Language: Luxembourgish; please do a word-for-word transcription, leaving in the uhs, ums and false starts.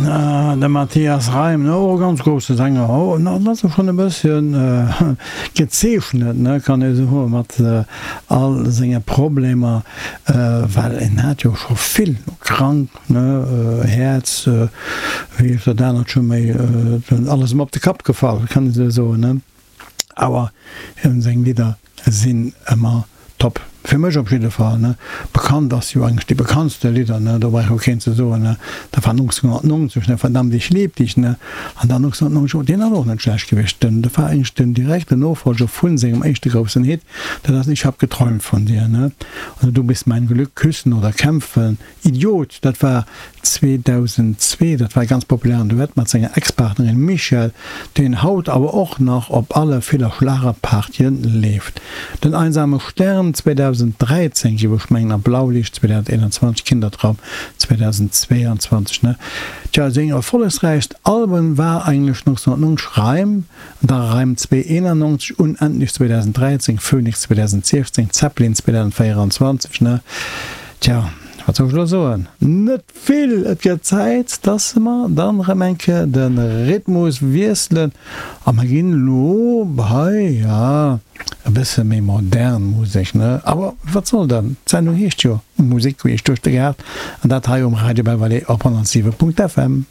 De Matthias Reim, ne, och e ganz grousse Sänger, oh, dat ass e schonn e bësschen gezeechnet, ne, kann ee soen, mat all senge Problemer, well en hat jo scho vill krank, ne, Häerz, wéi heescht dat anert scho méi, alles ëm op de Kapp gefall, kann ee sou soen, ne. Awer him seng Lidder sinn ëmmer top. Fir mech op jidde Fall, ne. Bekannt ass jo eigentlech déi bekanntste Lidder, ne, do brauch jo keen ze soen, ne, dat war nonzénghonnertnonzeg, ne, Verdammt, ich lieb dich, ne, an dann nonzénghonnertneunzeg, deen ass och net schlecht gewiescht, den, dat war eigentlech den direkten Nofolger vu sengem éischte groussen Hit, dat ass Ich hab geträumt von dir, ne, oder Du bist mein Glück, Küssen oder kämpfen, Idiot, dat war zweedausendzwee, dat war e ganz populären Duett mat senger Ex-Partnerin Michèle, deen haut awer och nach op alle ville Schlagerpartyen leeft. Den einsame Stern zweedausenddräizéng, géif ech mengen, a Blaulicht zweedausendeenanzwanzeg, Kindertraum zweedausendzweeanzwanzeg, ne? Tja, seng erfollegsräichst Alben war eigentlech nonzénghonnertneunzeg Reim, da Reim zwee eenannonzeg, Unendlich zweedausenddräizéng, Phoenix zweedausendziechzéng, Zeppelin zweedausendvéieranzwanzeg, ne? Tja, wat soll ech elo soen? Net vill! Et gëtt Zäit, dass mer dann erëm eng Kéier de Rhythmus wiesselen a mer ginn elo bei, ja, e bësse méi modern Musek, ne? Awer wat soll dann? D'Sendung heescht jo Musek queesch duerch de Gaart an dat hei um Radio Belval op honnertsiwe Punkt F M.